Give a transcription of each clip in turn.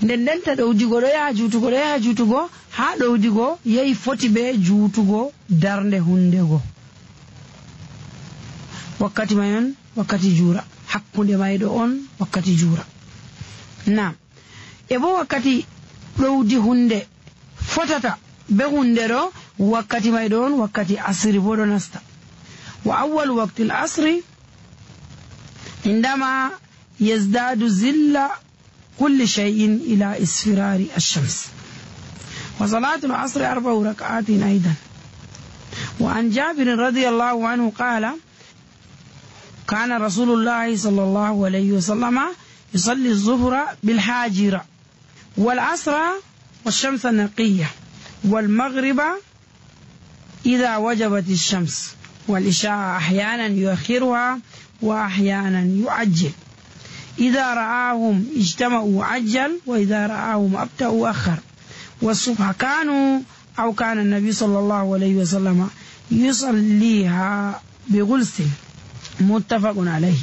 nden denta ɗowdigo ɗo yaha juutugo ha ɗowdigo yehi foti be juutugo darnde hundego. Wakkati may on wakkati juura, hakkunde mayɗo on wakkati juura. Naam, e bo wakkati ɗowdi hunde fotata be hunde ɗo wakkati mayɗo on wakkati asri bo ɗo nasta. Wa awwal waqti al-asri indama yazdadu zilla kulli shay'in ila isfirari ash-shams. Wa salatu al-asri 4 rak'atin aidan. Wa an Jabir radiyallahu anhu qala كان رسول الله صلى الله عليه وسلم يصلي الظهر بالحاجرة والعصر والشمس النقية والمغرب إذا وجبت الشمس والعشاء أحيانا يؤخرها وأحيانا يعجل. إذا رآهم اجتمعوا عجل وإذا رآهم أبطأوا أخر. والصبح كان النبي صلى الله عليه وسلم يصليها بغلس متفق عليه.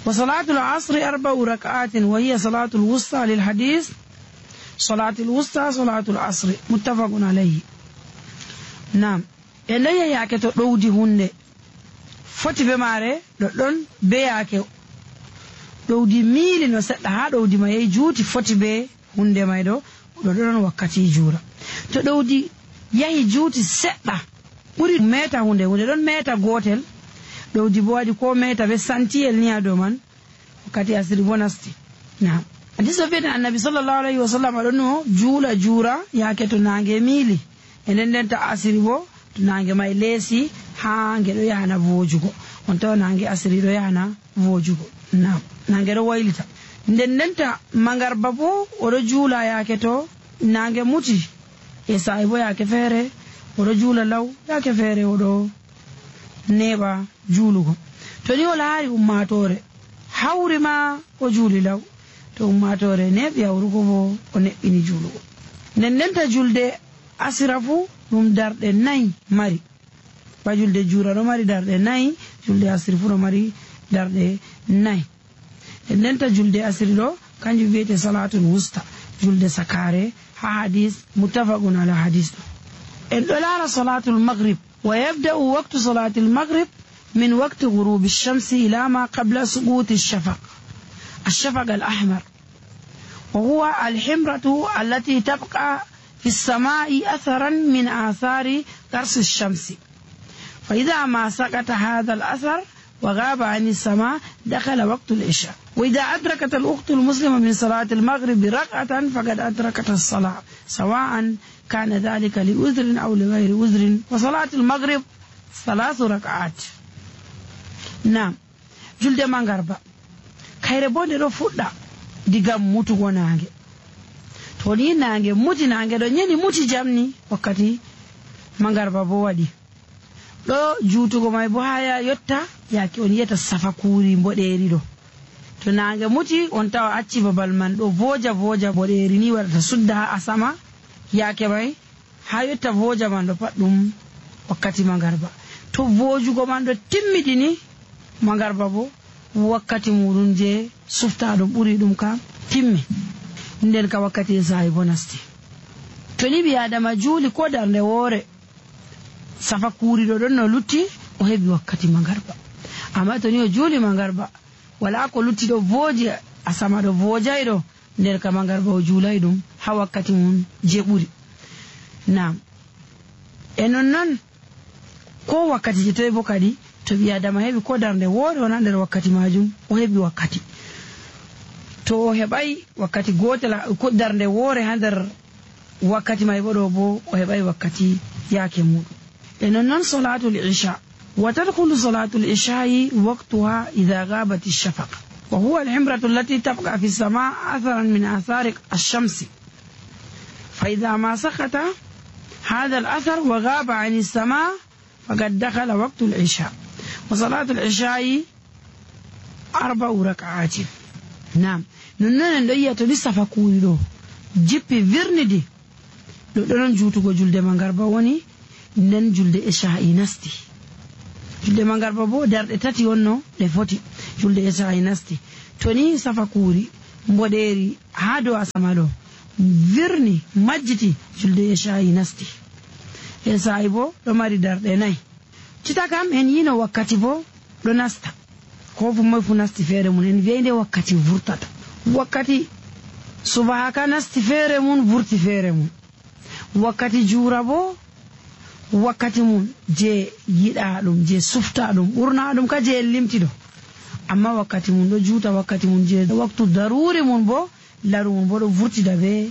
وصلاة العصر 4 ركعات وهي صلاة الوسطى للحديث صلاة الوسطى صلاة العصر متفق عليه. نعم إليه ياكي تدودي هنده foti be mare ɗon be yake ɗowdi miili no seɗɗa ha ɗowdi ma yehi juuti foti be hunde may ɗo ɗon wakkati juura. To ɗowdi yahi juuti seɗɗa ɓuri meta hunde ɗon meta gotel ɗowdi bo waɗi ko meta be santiyel ni do man wakkati asiri bo nasti. Naam, hadis o wi'ata annabi sallallahu alaihi wasallam ɗon no juura yake to nange miili e nden ta asiri bo to nange may leesi ha nge ɗo yahana vojugo on tawa nange asiri ɗo yahana vojugo. Naam, nange ɗo waylita nden ta mangarba bo oɗo juula yake to nange muti e sa'i bo yake feere oɗo juula law yake feere oɗo neɓa juulugo. To ni o laari ummatore hawri ma o juuli law, to ummatore neɓi hawrugo bo o neɓɓini juulugo. nden ta julde asira fu ɗum darɗe 4 mari, ba julde juura ɗo mari darɗe 4, julde asiri fu ɗo mari darɗe 4. nden ta julde asiri ɗo kanjum wiyete salatul wusta, julde sakare ha hadis muttafaqun ala hadis ɗo. en ɗo laara salatul maghrib wa yabda'u waqtu salatul maghrib min waqti ghurubi ash-shamsi ila ma qabla suquti ash-shafaq al-ahmar wa huwa al-himratu allati tabqa في السماء أثرا من آثار قرص الشمس، فإذا ما سقط هذا الأثر وغاب عن السماء دخل وقت العشاء. وإذا أدركت الأخت المسلمة من صلاة المغرب ركعة فقد أدركت الصلاة سواء كان ذلك لعذر أو لغير عذر. وصلاة المغرب 3 ركعات. نعم، جلد مغربا خير بوني رو فودا ديغام موتو نانغي to ni nange muti nange ɗo nyeni muti jamni wakkati mangarba bo waɗi ɗo juutugo may bo haya yotta yake on yeta safakuri mboɗeri ɗo. to nange muti on tawa acci babal man ɗo voja mboɗeri ni waɗata sudda ha asama yake may ha yotta voja man ɗo pat ɗum wakkati mangarba. to vojugo man ɗo timmiɗini mangarba bo wakkati muɗum je sufta ɗum ɓuri ɗum kam timmi nden ka wakkati sa'i bo nasti. to ni ɓi adama juuli ko darnde woore safa kuuriɗo ɗon no lutti o heɓi wakkati mangarba. amma to ni o juuli mangarba wala ko lutti ɗo vooji asama ɗo voojay ɗo nder ka mangarba o juulay ɗum ha wakkati mum je ɓuri. Naam, e non ko wakkati je toy bo kadi to ɓi adama heɓi ko darnde woore wona nder wakkati majum o heɓi wakkati. to o heɓay wakkati gotel ko darnde woore ha nder wakkati may bo ɗo bo o heɓay wakkati yaake muɗum. e non salatul isha wa tadkhulu salatul isha'i waqtuha idha ghabat ash-shafaq wa huwa al-himratu allati tabqa fi as-sama' atharan min athari ash-shams fa idha ma saqata hadha al-athar wa ghaba 'an as-sama' faqad dakhala waqtu al-isha wa salatul isha'i 4 rak'atin. Naam, non en ɗo yiya to ni safa kuuri ɗo jippi virnidi ɗo ɗonon juutugo julde mangarba woni nden julde isha'i nasti. julde mangarba bo darɗe 3 wonno ɗe foti julde isha'i nasti. to ni safa kuuri mboɗeeri haa dow asama ɗo virni majjiti julde isha'i nasti. Isha'i bo ɗo mari darɗe 4. Cita kam en yino wakkati bo ɗo nasta ko fu moy fu nasti feere mun en wi'ay nde wakkati vurtata. Wakkati subaka nasti feere mun vurti feere mun. Wakkati juura bo wakkati mun je yiɗa ɗum je sufta ɗum ɓurna ɗum ka je limti ɗo, amma wakkati mun ɗo juuta wakkati mun je waktu daruri mun bo laru mun bo ɗo vurtida be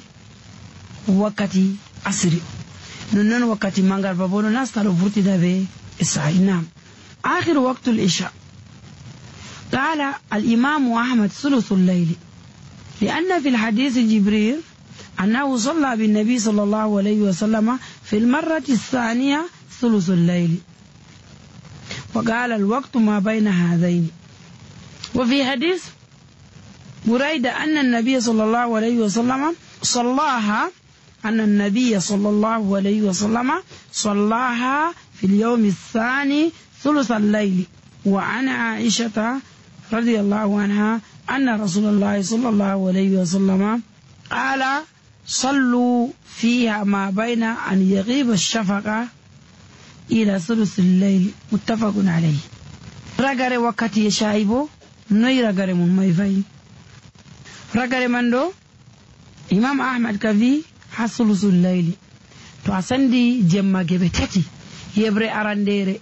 wakkati asiri. Non wakkati mangarba bo ɗo nasta ɗo vurtida be isha'i. Nam آخر وقت العشاء قال الإمام أحمد ثلث الليل، لأن في الحديث جبريل أنه صلى بالنبي صلى الله عليه وسلم في المرة الثانية ثلث الليل، وقال الوقت ما بين هذين. وفي حديث بريدة أن النبي صلى الله عليه وسلم صلاها صلاها في اليوم الثاني ثلث الليل. وعن عائشة رضي الله عنها أن رسول الله صلى الله عليه وسلم قال صلوا فيها ما بين أن يغيب الشفق إلى ثلث الليل، متفق عليه. رغر وقتي شايبو نوي رغر من مايفاي رغر من دو إمام أحمد كفي ثلث الليل تو أسندي جمع جبتتي يبري أرانديري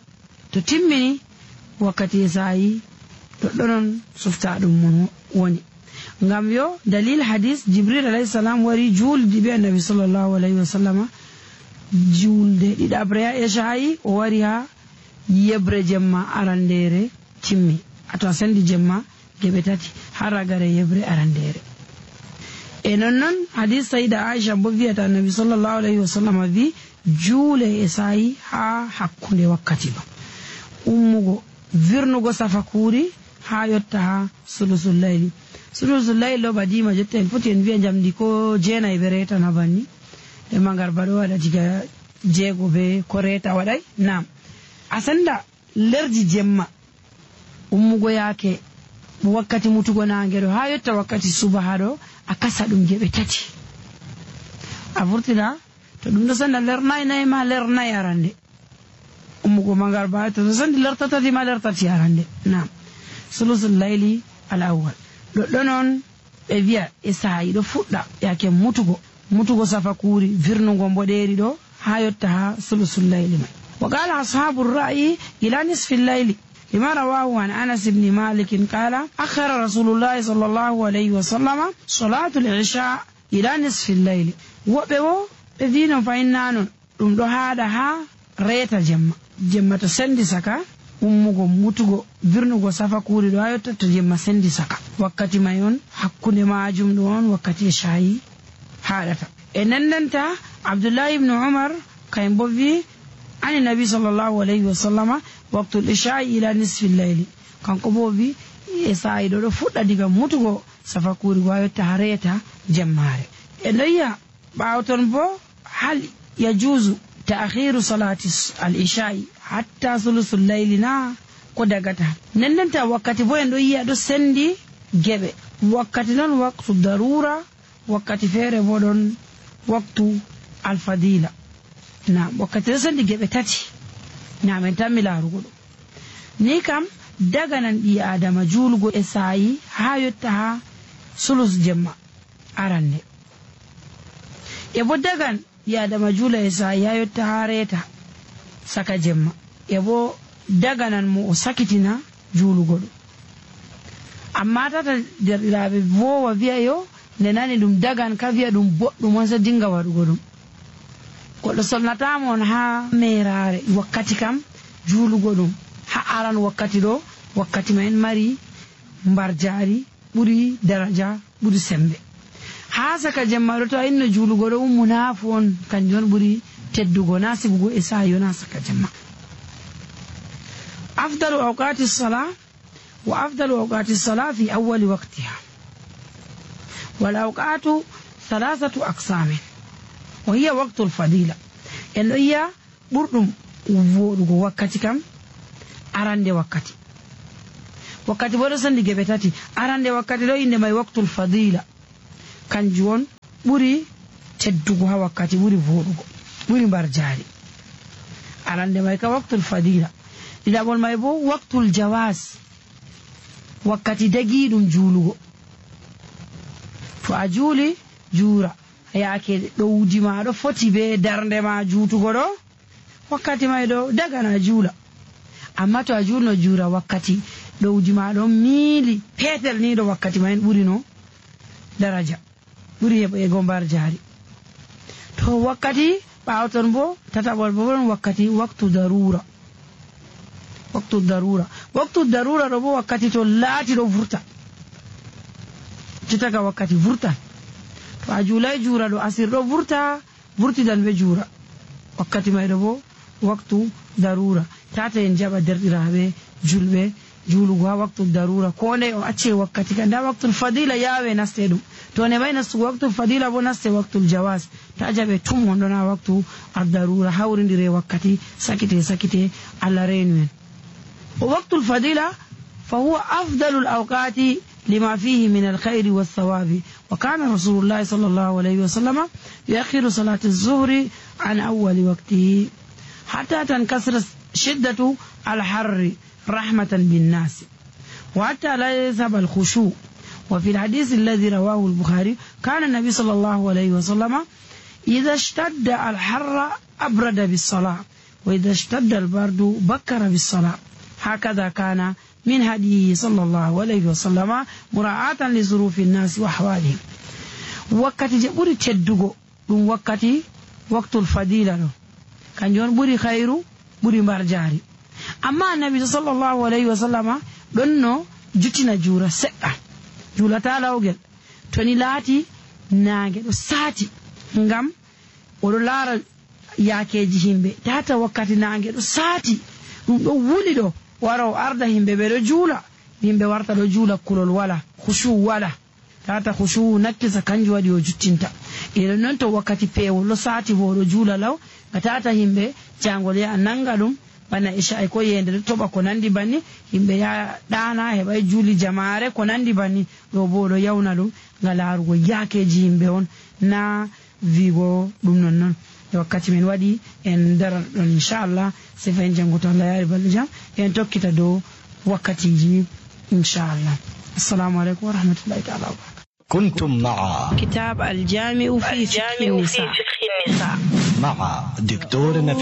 تو تمني وقتي ساي تدرون سفتا دم وني ngam yo dalil hadis Jibril alayhi salam wari julde be annabi sallallahu alayhi wa sallama julde ɗiɗabre ya isha'i o wari ha yebre jemma arandere timmi ato sandi jemma gebe tati har ragare yebre arandere. E non hadis sayda Aisha bo wi'ata annabi sallallahu alayhi wa sallama vi juule isha'i ha hakkunde wakkati ba ummugo virnugo safakuri ha yotta ha sulusul layli. Sulusul layli lo badima jotta en foti en wi'a jamdi ko jeenayi be reta na banni e mangarba ɗo waɗa diga jeego be ko reta waɗay. Nam asanda lerdi jemma ummugo yaake wakkati mutugo nange ɗo ha yotta wakkati subaha ɗo a kasa ɗum geɓe tati a vurtina to ɗum ɗo sanda ler nayi ma ler nayi arande ummugo mangarba to sandi ler tatati ma ler tati arande. Nam sulusul layli al awwal ɗo noon ɓe wi'a isha'i ɗo fuɗɗa yake mutugo safakuri virnugo mboɗeeri ɗo ha yotta ha sulusul layli mai. Wa qala ashabu ra'yi ila nisfi layli lima rawahu an Anas ibn Malik qala akhara rasulullahi sallallahu alayhi wa sallama salatul isha ila nisfi layli. Woɓɓe wo ɓe wino fayinna non ɗum ɗo haɗa ha reeta jemma to sendi saka ummugo mutugo virnugo safakuri ɗo ha yotta to jemma sendi saka wakkati may on hakkunde majum ɗo on wakkati isha'i haɗata. E nandanta Abdullahi ibn Umar kayen bo wi ani nabi sallallahu alayhi wa sallama waqtul isha'i ila nisfi layli, kanko bo wi isha'i ɗo fuɗɗa diga mutugo safakuri go ha yotta ha reeta jemmare. E ɗoyiya ɓawo ton bo hal yajuzu ta'khiru salati al-isha'i hatta sulusul layli na ko dagata nendenta wakkati bo en ɗo yiya ɗo sendi geɓe wakkati non waktu darura wakkati feere bo ɗon waktu alfadila. Na wakkati ɗo sendi geɓe tati na men tan mi laarugo ɗo ni kam daganan ɓi adama juulugo isha'i ha yotta ha sulus jemma arande e bo dagan ɓi adama juula isha'i ha yotta ha reeta saka jemma e bo daganan mo o sakitina juulugo ɗum. Amma tata derɗiraɓe vowa wi'a yo nde nani ɗum dagan ka wi'a ɗum boɗɗum on sa dinga waɗugo ɗum. Goɗɗo solnatamon ha merare wakkati kam juulugo ɗum ha aran wakkati ɗo wakkati ma en mari mbarjari ɓuri daraja ɓuri sembe. Ha saka jemma ɗo to a inno juulugo ɗo ummunafu on kanjum on ɓuri teddugo na sibugo isha'i na saka jemma. أفضل أوقات الصلاة وأفضل أوقات الصلاة في أول وقتها، والأوقات 3 أقسام وهي وقت الفضيلة إن هي بردم وقت كم أراند وقت، wakkati bo ɗo sendi geɓe tati. Arande wakkati ɗo inde mai waqtul fadila, kanjum on ɓuri teddugo ha wakkati, ɓuri voɗugo, ɓuri mbar jari. Arande mai ka waqtul fadila. Ɗiɗaɓol mai bo waqtul jawas, wakkati dagiɗum juulugo. To a juuli juura, yaake ɗowdi ma ɗo foti be darnde ma juutugo ɗo, wakkati mai ɗo dagana juula. Amma to a julno juura wakkati ɗowdi ma ɗon miili petel ni ɗo, wakkati mai ɓuri no daraja, ɓuri heɓego mbar jari. To wakkati ɓawoton bo tataɓol bo ɗon wakkati waqtu darura. Waqtu darura, waqtu darura ɗo bo wakkati to laati ɗo vurta, jottaga wakkati vurtan. To a juulai juura ɗo asir ɗo vurtidan be juura, wakkati mai ɗo bo waqtu darura. Tata en jaɓa derɗiraɓe julɓe juulugo ha waqtu darura, ko ndey o acce wakkati ka. Nda waqtul fadila yawe naste ɗum, to ne mai nastugo waqtul fadila bo naste waqtul jawas. Ta jaɓe tum wonɗon ha waqtu ad-darura, hawridire wakkati sakite Allah reenu en. ووقت الفضيلة فهو أفضل الأوقات لما فيه من الخير والثواب. وكان رسول الله صلى الله عليه وسلم يؤخر صلاة الظهر عن أول وقته حتى تنكسر شدة الحر رحمة بالناس وحتى لا يذهب الخشوع. وفي الحديث الذي رواه البخاري كان النبي صلى الله عليه وسلم إذا اشتد الحر أبرد بالصلاة وإذا اشتد البرد بكر بالصلاة. هكذا كان من هديه صلى الله عليه وسلم مراعاة لظروف الناس وأحوالهم. وقت جبوري تشدغو دون وقت الفضيلة كان جون بوري خيرو بوري مرجاري. أما النبي صلى الله عليه وسلم دونو جتنا جورا سقا جولا تالا وغل توني لاتي ناغي دو ساتي ngam oɗo laara yaakeji himɓe tata wakkati nange ɗo saati ɗum ɗo wuli ɗo wara o arda himɓe ɓe ɗo juula, yimɓe warta ɗo juula kulol wala, khushu wala, tata khushu nakkisa kanjum waɗi o juttinta. Eɗon noon to wakkati peewol ɗo saati bo ɗo juula law ga tata himɓe jangol yaha nanga ɗum bana isha'i ko yende ɗo toɓa ko nandi banni, himɓe ya ɗana heɓay juuli jamare ko nandi banni, ɗo bo ɗo yawna ɗum nga laarugo yaakeji himɓe on, na vigo ɗum nonnon. E wakkati men waɗi en daran ɗon inchallah se fa en jangoto Allah yaari balɗe jam en tokkita dow wakkatiji inchallah. Assalamu aleykum wa rahmatullahi ta'ala wa barakatuh. كنتم مع كتاب الجامع في فقه النساء مع دكتور